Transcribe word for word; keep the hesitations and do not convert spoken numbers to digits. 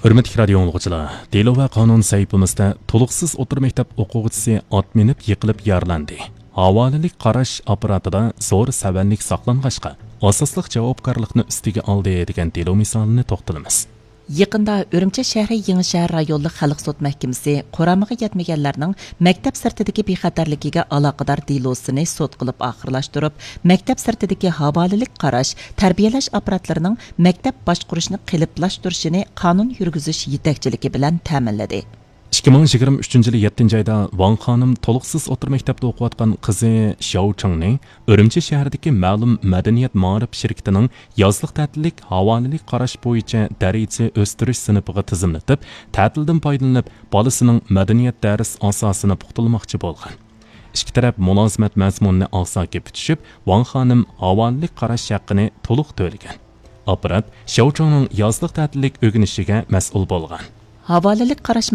ھۆرمەتلىك رادىيو ئاڭلىغۇچىلار، دېلو ۋە قانۇن سەھىپىمىزدە تولۇقسىز ئوتتۇرا مەكتەپ ئوقۇغۇچىسى ئات مىنىپ يىقىلىپ يارىلاندى. ھاۋالىلىك قاراش ئاپپاراتىدا زور سەۋەنلىك ساقلانغاچقا، ئاساسلىق جاۋابكارلىقنى ئۈستىگە ئالدى، دېگەن دېلو مىسالىنى توختىلىمىز. يېقىندا ئۈرۈمچى شەھىرى يېڭىشەھەر رايونلۇق خەلق سوت مەھكىمىسى قۇرامىغا يەتمىگەنلەرنىڭ مەكتەپ سىرتىدىكى بىخەتەرلىكىگە ئالاقىدار دېلوسىنى سوت قىلىپ ئاخىرلاشتۇرۇپ، مەكتەپ سىرتىدىكى ھاۋالىلىك قاراش، تەربىيەلەش ئاپپاراتلىرىنىڭ مەكتەپ باشقۇرۇشنى قېلىپلاشتۇرۇشىنى قانۇن يۈرگۈزۈش يېتەكچىلىكى بىلەن تەمىنلىدى. ئىككى مىڭ يىگىرمە ئۈچىنچى يىلى يەتتىنچى ئايدا ۋاڭ خانىم تولۇقسىز ئوتتۇرا مەكتەپتە ئوقۇۋاتقان قىزى شياۋ چىڭنى ئۈرۈمچى شەھىرىدىكى مەلۇم مەدەنىيەت مائارىپ شىركىتىنىڭ يازلىق تەتىللىك ھاۋالىلىك قاراش بويىچە دەرىجە ئۆستۈرۈش سىنىپىغا تىزىملىتىپ، تەتىلدىن پايدىلىنىپ، بالىسىنىڭ مەدەنىيەت دەرس ئاساسىنى پۇختىلىماقچى بولغان. ئىككى تەرەپ مۇلازىمەت مەزمۇنىنى ئاغزاكى پۈتۈشۈپ، ۋاڭ خانىم ھاۋالىلىك قاراش ھەققىنى تولۇق تۆلىگەن. ئاپپارات شياۋ چىڭنىڭ يازلىق تەتىللىك ئۆگىنىشىگە مەسئۇل بولغان. ھاۋالىلىك قاراش